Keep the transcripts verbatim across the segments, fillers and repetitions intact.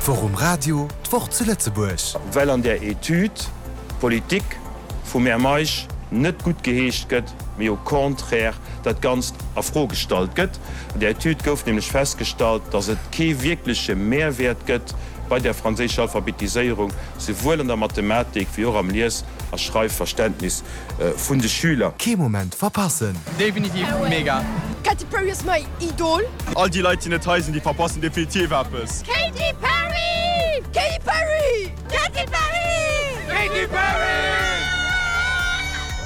D'Woch um Radio, d'Woch zu Lëtzebuerg. Well an där Etüd d'Politik vum Här Meisch net guttgeheescht gëtt, mee au contraire dat Ganzt a Fro gestallt gëtt. An där Etüd gouf nämlech festgestallt, datt et kee wierkleche Mehrwäert gëtt bei der franséischer Alphabetiséierung, souwuel an der Mathematik wéi och am Lies a Schreifverständnis vun de Schüler. Kee Moment verpassen! Definitiv mega! Katy Perry ass mäi Idol! All déi Leit déi net hei sinn, déi verpassen definitiv eppes! Katy Perry! Katy Perry! Katy Perry! Katy Perry!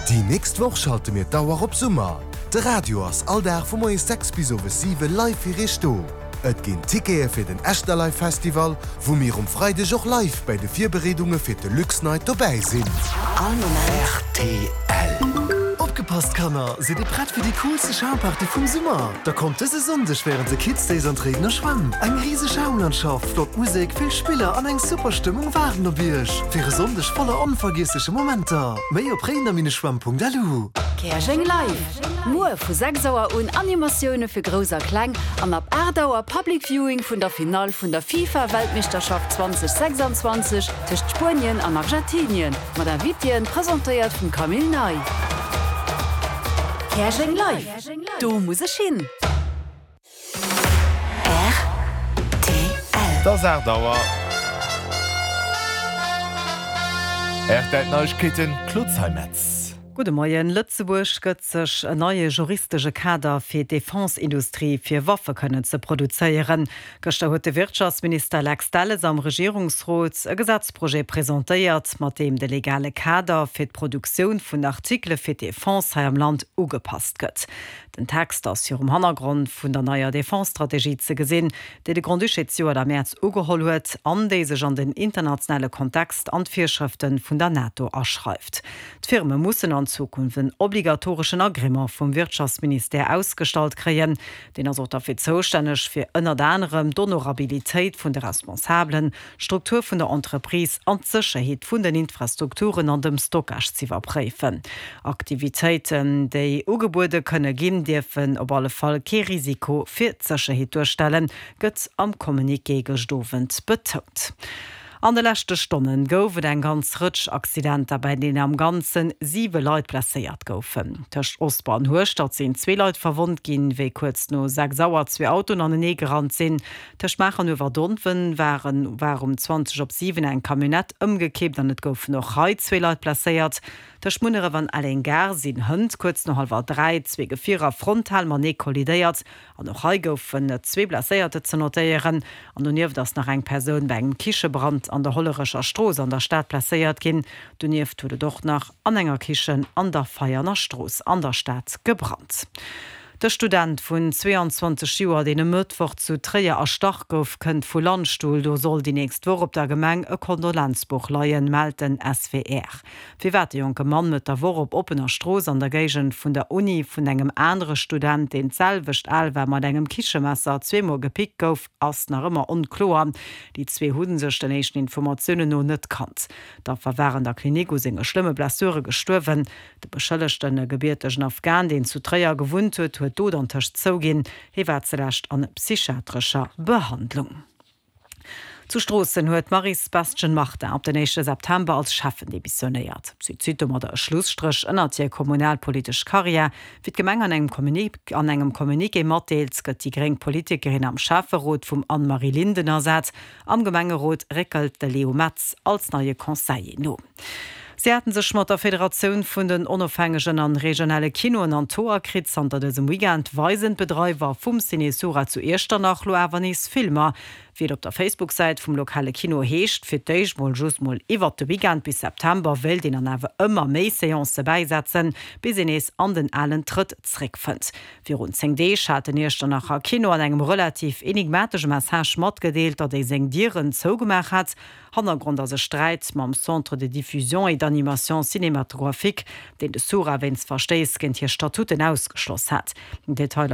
Déi nächst Woch schalte mir d'Auer op Summer. De Radio ass all Dag vu moies sechs bis owes siwe live fir iech do. Et ginn Tickete fir den Echterlive Festival, wou mir um Freideg och live bei de Virbereedunge fir de Luxnight dobäi sinn. All Moment. R T L. Opgepasst Kanner, sidd dir prett fir déi coolste Schaumparty vum Summer? Da kommt dëse Sonndeg wärend de Kids Days an d'Réidener Schwämm. Eng riseg Schaumlandschaft, flott Musek, vill Spiller an eng super Stëmmung waarden op iech. Fir e Sonndeg voller onvergiessleche Momenter. Méi op réidener Bindestrich schwämm Punkt L U. Käerjeng Live! Muer vu sechs Auer un Animatioune fir Grouss a Kleng an ab aacht Auer Public Viewing vun der Finall vun der FIFA-Weltmeeschterschaft zweedausendsechsanzwanzeg tëscht Spuenien an Argentinien mat Invitéen, presentéiert vum Camille Ney. Käerjeng Live! Do muss ech hin! R T L. Et ass aacht Auer. R T L Neiegkeeten, Claude Zeimetz. Gudde Moien. Lëtzebuerg gëtt sech en neie juristesche Kader fir d'Defense-Industrie fir Waffe kënnen ze produzéieren. Gëschter huet de Wirtschaftsminister Lex Delles am Regierungsrot e Gesetzprojet presentéiert, mat deem de legale Kader fir d'Produktioun vun Artikele fir d'Defense hei am Land ugepasst gëtt. Den Text ass virum Hannergrond vun der neier Defense-Strategie ze gesinn, déi de Grand-Duché zejoert am Mäerz ugeholl huet an déi sech an den internationale Kontext an d'Virschrëfte vun der NATO aschreift. D'Firme mussen an Zukunft en obligatoreschen Agrément vum Wirtschaftsministère ausgestallt kréien. Deen ass och derfir zoustänneg fir ënnert anerem d'Honorabilitéit vun de Responsabelen, d'Struktur vun der Entreprise an d'Sécherheet vun den Infrastrukturen an dem Stockage z'iwwerpréifen. Aktivitéiten, déi ugebuede kënne ginn, dierfen op alle Fall kee Risiko fir d'Sécherheet duerstellen, gëtt am Communiqué gëscht Owend betount. An de leschte Stonne gouf et eng ganz Rëtsch Accidenter, bei deenen am Ganze siwe Leit blesséiert goufen. Tëscht Osper an Hueschtert sinn zwee Leit verwonnt ginn, wéi kuerz no sechs Auer zwee Autoen anenee gerannt sinn. Tëscht Maacher an Uewerdonwen waren war um zwanzeg op siwen eng Camionnette ëmgekippt an et goufen och hei zwee Leit blesséiert. Tëscht Munneref an Elleng-Gare sinn hënt kuerz no hallwer dräi zwee Gefierer frontal matenee kollidéiert an och hei goufen et zwee Blesséierter ze notéieren. An donieft ass nach eng Persoun bei engem Kichebrand an der Hollerecher Strooss an der Stad blesséiert ginn. Donieft huet et och nach an enger Kichen an der Veianer Strooss an der Stad gebrannt. De Student vun zweeanzwanzeg Joer, deen e Mëttwoch zu Tréier erstach gouf, kënnt vu Landstuhl. Do soll déi nächst Woch op der Gemeng e Kondolenzbuch leien, mellt den S W R. Firwat de jonke Mann Mëtt der Woch op oppener Strooss an der Géigend vun der Uni vun engem anere Student, deen d'selwecht al war, mat engem Kichemesser zweemol gepickt gouf, ass nach ëmmer onkloer. Déi zwee hu sech den éischten Informatiounen no net kannt. D'Affer war an der Klinik u senge schlëmme Blessure gestuerwen. De Beschëllegten, e gebiertegen Afghan, deen zu Tréier gewunnt huet, huet d'Dot antëscht zouginn. Hie war zulescht an psychiatrescher Behandlung. Zu Stroossen huet d'Maryse Bestgen-Martin op den éischte September als Schäffen demissionéiert. Si zitt domadder e Schlusstréch ënnert hir kommunalpolitesch Karriär. Wéi d'Gemeng an engem an engem Communiqué matdeelt, gëtt déi gréng Politikerin am Schäfferot vum Anne-Marie Linden ersat. Am Gemengerot réckelt de Leo Metz als neie Conseiller no. Si haten sech mat der Federatioun vun den onofhängegen an regionale Kinoen an d'Hoer kritt. Zanter dësem Weekend weisen d'Bedreiwer vum Ciné Sura zu Iechternach lo awer nees Filmer. Wéi et op der Facebook-Säit vum lokale Kino heescht, fir d'éischt mol just mol iwwert de Weekend, bis September wéilt een dann awer ëmmer méi Seancë bäisetzen, bis een nees an den alen Trëtt zréckfënnt. Virun zéng Deeg hat den Iechternacher Kino an engem relativ enigmatesche Message matgedeelt, datt ee seng Dieren zougemaach hätt. Hannergrond ass e Sträit mam Centre de diffusion et d'animation cinématographique, deen de Sura wéinst Verstéiss géint hir Statuten ausgeschloss hat. Detailer.